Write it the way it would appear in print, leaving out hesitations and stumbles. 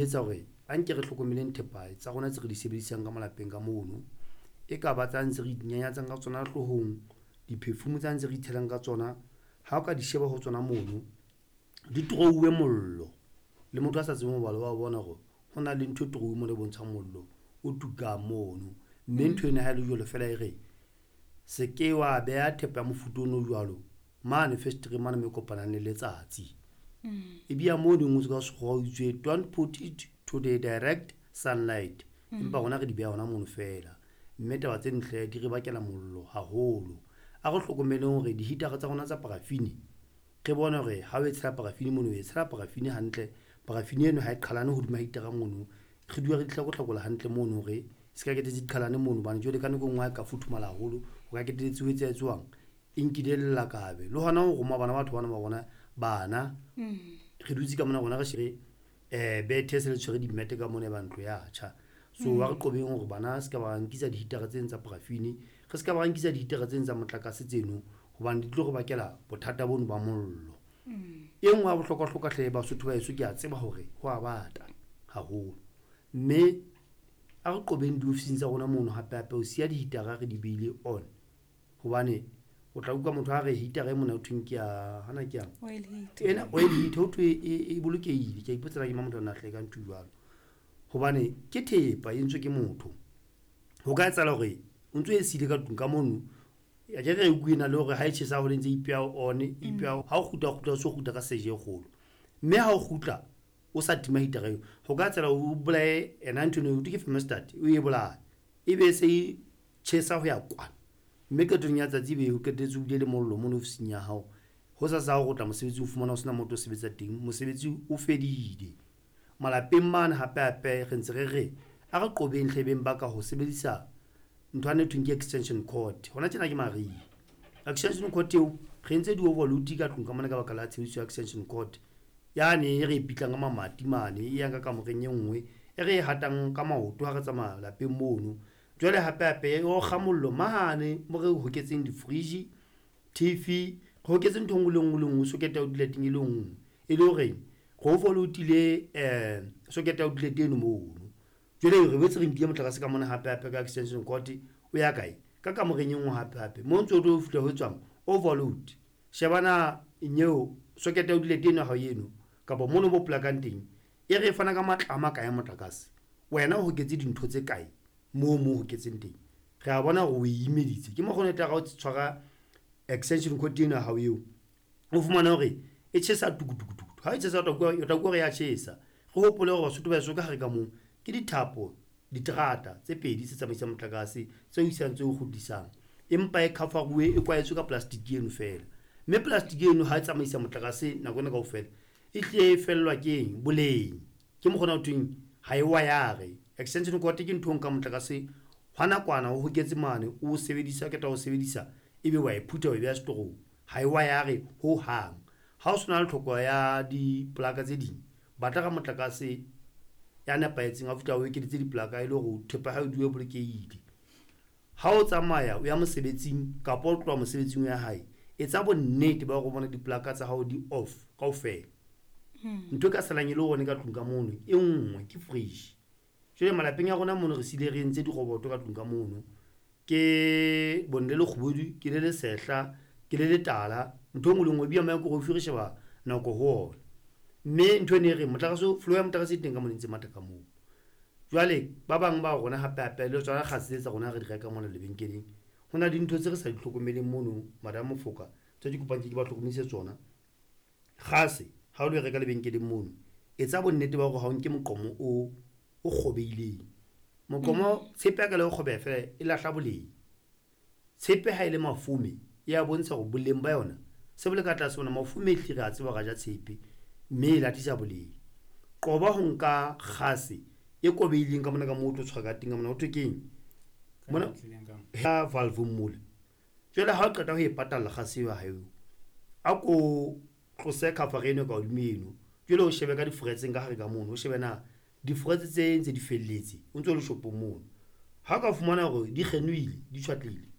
Etsa hore a nke re hlokomeleng thepa tsa rona tse re di sebedisang ka malapeng ka mono. E ka ba tsa ntse re inyanyatsang ka tsona hloohong, di-perfume tsa ntse re itshelang ka tsona. Ha o ka di sheba ho tsona mono, di torouwe mollo le motho a sa tsebeng ho bala wa bona hore ho na le ntho e torouweng mona e bontshang mollo o tukang mono. Mme ntho eno ha e le jwalo feela e re, se ke wa beha thepa ya mofuta ono o jwalo mane fesetereng mane moo e kopanang le letsatsi. E bia mono e ngotswe ka sekgowa ho itswe, don't put it to the direct sunlight. Empa rona re di beha hona mono feela, mme taba tse ntle di re bakela mollo haholo. A re hlokomeleng hore di-heater-a tsa rona tsa paraffin, re bone hore ha o e tshela paraffin mono, o e tshela paraffin hantle. Paraffin eno ha e qhalane hodima heater-a mono. Re dule re di hlakohlakola hantle mono hore se ka ketetse di qhalane mono, hobane jwale ka nako e nngwe ha e ka futhumala haholo, o ka ketelletse ho etsa etswang e nkile lelakabe. Le hona ho roma bana batho bana ba rona bana, re dutse ka mona rona re shebe bethe se le tshwere dimmete ka mona e ba ntlo ya tjha. So ha re qobeng hore bana se ka ba nkisa di-heater-a tseno tsa paraffin, re se ka ba nkisa di-heater-a tseno tsa motlakase tseno, hobane di tlo re bakela bothata bono ba mollo. E nngwe ya bohlokwa-hlokwa hle Basotho ba heso, ke a tseba hore ho a bata haholo, mme a re qobeng diofising tsa rona mono hape-hape ho siya di-heater-a re di behile on, hobane o tla utlwa motho a re heater-a e mona ho thweng ke ya hana ke yang Oil heater. Ena oil heater ho thwe e bolokehile. Ke a ipotsa na ke mang motho a na hlahe ka ntho e jwalo, hobane ke thepa e entswe ke motho. Ho ka etsahala hore o ntso e siile ka tlung ka mono, akere re utlwe ena le hore ha e tjhesa haholo e ntse e ipeha on, e ipeha ha o kgutla, o kgutla o so kgutla ka seje e kgolo, mme ha o kgutla o sa tima heater-a eo, ho ka etsahala o bolaye ena ntho eno ho thwe ke thermostat, o e bolaye ebe e se e tjhesa ho ya kwana, mme qetong ya tsatsi ebe o qetelletse o bile le mollo mono ofising ya hao. Hosasa ha o kgutla mosebetsing, o fumana ho sena motho o sebetsa teng, mosebetsi o fedile. Malapeng mane hape-hape re ntse re re a re qobeng hlebeng ba ka ho sebedisa ntho ane thweng ke extension cord. Hona tjena ke mariha, extension cord eo re entse di-overload ka tlung ka mona ka baka la tshebediso ya extension cord yane e re e pitlang ka mamati mane, e yang ka kamoreng e nngwe, e re e hatang ka maoto ha re tsamaya lapeng mono. Jwale hape-hape e okga mollo mane mo re hoketseng di-fridge, TV, re hoketse ntho e nngwe le nngwe le nngwe socket ya outlet e le nngwe, e le horeng re overload-ile socket ya outlet eno mono. Jwale re boetse re nkile motlakase ka mona hape-hape ka extension cord o ya kae, ka kamoreng e nngwe hape-hape mo ntso o tlo fihla ho etswang overload. Shebana nyeo socket ya outlet eno ya hao eno, kapa mono bo plakang teng, e re e fana ka matla a makae a motlakase, wena o hoketse dintho tse kae moo mo hoketseng teng. Re a bona hore o e imeditse, ke mokgwa ona e tla re ha o tshwara extension cord eno ya hao eo, o fumane hore e tjhesa tukutukutuku. Ha e tjhesa o tla utlwa hore ya tjhesa. Re hopole hore Basotho ba heso ka hare ka moo ke dithapo, diterata tse pedi tse tsamaisang motlakase, tse o isang tse o kgutlisang, empa e cover-uwe, e kwahetswe ka plastic eno feela, mme plastic eno ha e tsamaisa motlakase nako ena kaofela e hlile e fellwa ke eng boleng. Ke mokgwa ona ho thweng ha e wire. Extension cord ke ntho e nkang motlakase hwa nakwana o hoketse mane, o sebedisa qeta ho sebedisa ebe wa e phutha, wa e beha setorong, ha e wire ho hang. Ha o sena le tlhoko ya diplaka tse ding, batla ka motlakase ya nepahetseng a fihla o ekeditse diplaka e le hore thepa ya hao e dule e bolokehile. Ha o tsamaya o ya mosebetsing kapa o tloha mosebetsing ya hae, etsa bonnete ba hore o bona diplaka tsa hao di off kaofela. Ntho e ka salang e le hone ka tlung ka mono e nngwe ke fridge. Jwale malapeng a rona mono re siile re entse diroboto ka tlung ka mono, ke bone le lekgubedu, ke le lesehla, ke le letala, ntho e nngwe le nngwe ebile microwave re sheba nako ho ona. Mme ntho eno e reng motlakase, flow ya motlakase e teng ka mona e ntse matha ka moo. Jwale ba bang ba rona hape-hape le tsona kgase tse tsa rona re di reka mona lebenkeleng, ho na le dintho tse re sa di hlokomeleng mono madam Mofoka, tse ke kopang ke ba hlokomedise tsona. Kgase ha o lo e reka lebenkeleng mono, etsa bonnete ba hore ha o nke moqomo o kgobeileng. Moqomo tshepe ya ka le ho kgobeha feela e lahla boleng. Tshepe ha e le mafome e ya bontsha hore boleng ba yona se bo le ka tlase hona. Mafome ehlile re a tseba hore a ja tshepe, mme e lahlisa boleng. Qoba ho nka kgase e kobeileng ka mona ka moo o tlo tshwara ka teng ka mona ho thwe keng mona ha valve mole. Jwale ha o qeta ho e patalla kgase eo ya hao eo, a ko tlose cover eno ka hodimo eno, jwale o shebe ka difretseng ka hare ka mono, o shebe na difretse tse ntse di felletse o ntso le shopong mono. Ha o ka fumana hore di kgenohile, di tjhwatlehile,